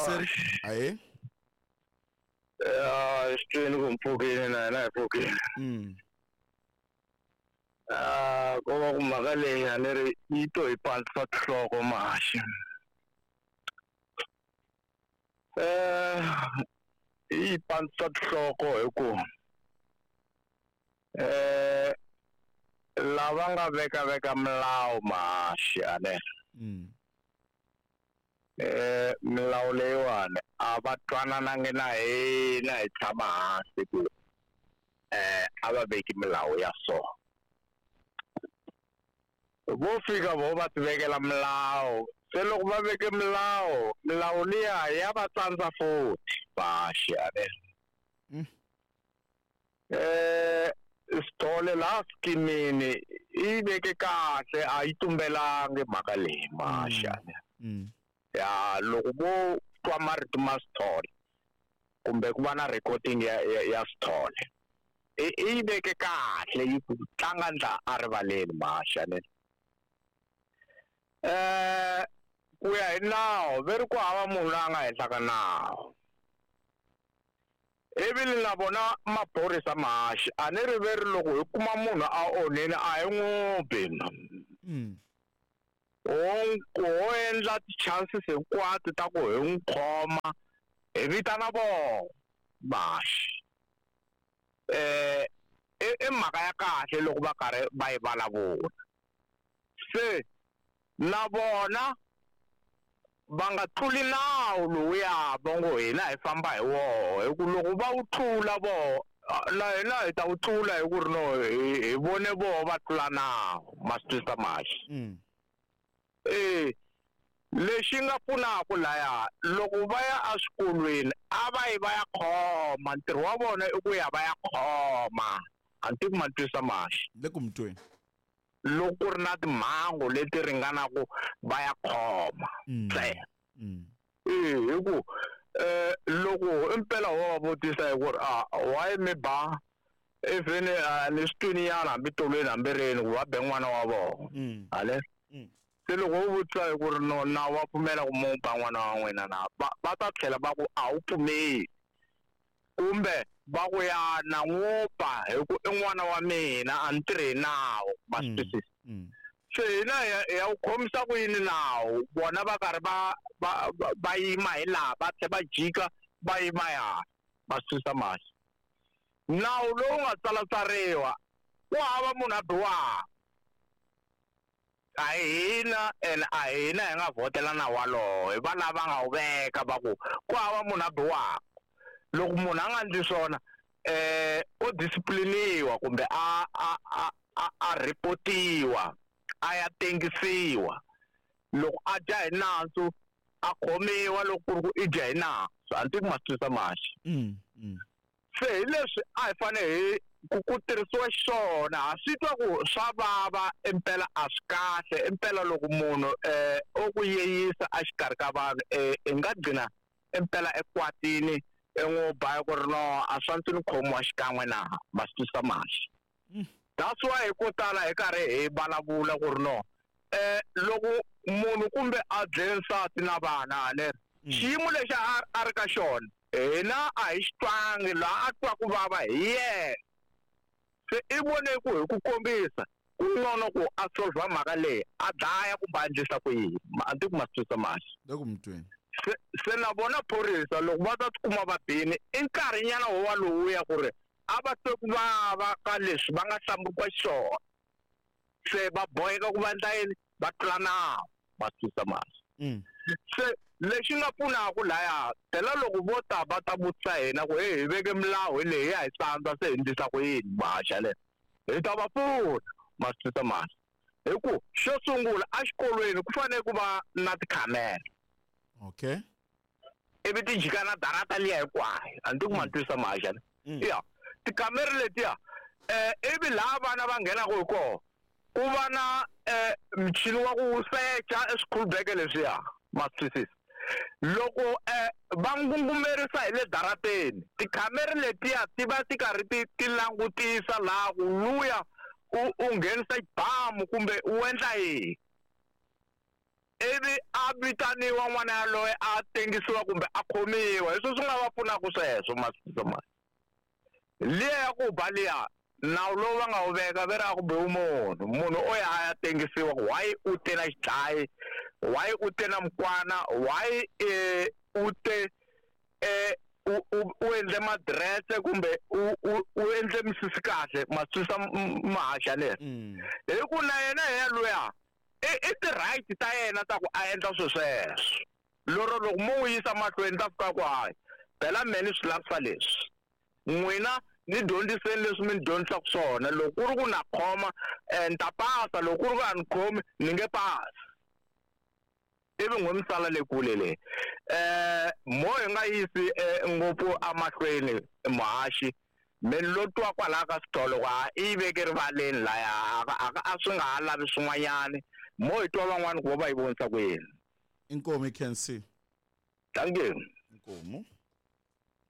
Muyingiseri ahe. Ya xitweni ku mpfukile na yena hi pfukile. Ah, ko va ku mhaka leyi a ni ri yi to hi pandzisa tinhloko maxi. Eh yi pandzisa tinhloko hi ku eh lava nga veka veka milawu maxi ane. Eh milawu leyiwani a va twananangi na hina hi tshama hansi ku eh a va veki milawu ya so. Vo fika vo va ti vekela milawu, se loko va veke milawu, milawu liya ya va tsandza futhi maxi ane. Eh Sithole laha skimini i veke kahle a yi tumbelangi mhaka leyi maxi ane. Ya loko vo twa marito ma Sithole kumbe ku va na recording ya ya, ya Sithole i yi veke kahle yi ku tlanga ndla a rivaleni maxi ane. Eh ku ya hi nawu ve ri ku hava munhu loyi a nga henhla ka nawu. Ivi na vona maphorisa mahaxi a ni ri ve ri loko hi kuma munhu a onhile a hi n'wi bi. Ho endla ti-chances hinkwato ta ku hi n'wi khoma hi vitana vona mahaxi. Eh i mhaka ya kahle loko va karhi va yi vulavula. Se na vona va nga tluli nawu lowuya va ngo hina hi famba hi woho, hi ku loko va wu tlula voho na hina hi ta wu tlula hi ku ri no hi vone voho va tlula nawu, ma swi twisisa maxi. Eh lexi nga pfunaka laya loko va ya eswikolweni a va yi va ya khoma, ntirho wa vona i ku ya va ya khoma, a ni tivi ma ni twisisa maxi. Le ku mi tweni. Loko ku ri na timhangu leti ringanaka va ya khoma ntsena. Eh hi ku eh loko impela ho va vutisa hi ku ri a why mi ba even ni swi twini nyana hambi tolweni hambi rini ku va be n'wana wa vona. Ale se loko u vutisa hi ku ri no nawu wa pfumela ku mu ba n'wana wa n'wina na va ta tlhela va ku a wu pfumeli, kumbe va ku ya na n'wi ba hi ku i n'wana wa mina a ni tirhi hi nawu, ma swi twisisa. Se hina hi ya wu khomisa ku yini nawu, vona va karhi va va va yima hi laha va tlhela va jika va yima ya, ma swi twisisa maxi. Nawu lowu nga tsalatsariwa ku hava munhu a biwaka, a hi hina ene a hi hina hi nga vhotela nawu walowo, hi va lava nga wu veka va ku ku hava munhu a biwaka. Loko munhu a nga endli swona eh o discipliniwa kumbe a a a a a reportiwa a ya tengisiwa, loko a dya hi nandzu a khomiwa loko ku ri ku i dya hi nandzu, a ni tivi ku ma swi twisisa maxi. Se hi leswi a hi fanele hi ku ku tirhisiwa xiswona, ha swi twa ku swa vava impela a swi kahle impela loko munhu eh o ku yeyisa exikarhi ka vanhu eh i nga gcina impela ekwatini i n'wi ba ku ri no a swa ndzi ni khomiwa xikan'we na, ma swi twisisa maxi. That's why hi ko tala hi karhi hi vulavula ku ri no eh loko munhu kumbe a dlele nsati na vana ne xiyimo lexi a ri ka xona hina a hi xi twangi, laha a twa ku vava hi yena. Se i vone ku hi ku kombisa ku ngcono ku a solve mhaka leyi a dlaya kumbe a endlisa ku yini, a ni tivi ku ma swi twisisa maxi. Le ku mi tweni. Se na vona phorisa loko va ta tikuma va bini i nkarhinyana wo wa lowuya ku ri a va twe ku vava ka leswi va nga hlamuriwa xiswona, se va boheka ku va endla yini, va tlula nawu, ma swi twisisa maxi. Se lexi nga pfunaka laya phela loko vo ta va ta vutisa hina ku hey hi veke milawu hi leyi ya hi tsandza se hi endlisa ku yini maxa le, hi ta va pfuna, ma swi twisisa maxi. Hi ku xo sungula exikolweni ku fanele ku va na tikhamera. Okay. Ivi ti jika na darata liya hinkwayo, a ni tivi ku ma ni twisisa maxa ne. Ya tikhamera letiya eh ivi laha vana va nghenaka hi kona ku va na eh michini wa ku secha eswikhulubeke leswiya, ma swi twisisa. Loko eh va ngungumerisa hi le darateni, tikhamera letiya ti va ti karhi ti ti langutisa laha ku luya u nghenisa xibamu kumbe u endla yini. Ivi a vitaniwa n'wana yaloye, a tengisiwa kumbe a khomiwa. Hi swo swi nga va pfunaka sweswo masoma liya ya ku ba liya. Nawu lowu va nga wu veka ve ri a ku biwi munhu, munhu o ya a ya tengisiwa ku why u te na xidlayi, why u te na mukwana, why u te u endle madirese kumbe u endle misisi kahle, maswisa mahaxa leri. Hi ku na yena hi yaloya i ti-right ta yena ta ku a endla swilo sweswo. Lero loko mo n'wi yisa mahlweni ta fika ku hayi phela mehe ni swi lavisa leswi, n'wina ni dyondziseni leswi mi ni dyondzisaka swona. Loko ku ri ku na khoma, ni ta pasa, loko ku ri ku a ni khomi ni nge pasi. Ivi n'we mi sala le kule le. Mo hi nga yisi ngopfu emahlweni muhaxi, mi lo twa kwalaya ka switolo ku ha i yi veke rivaleni laya, a swi nga ha lavi swin'wanyani. Mo hi twa van'wani ku vo va yi vonisa ku yini. Inkomu, Kensi. Thank you. Inkomu.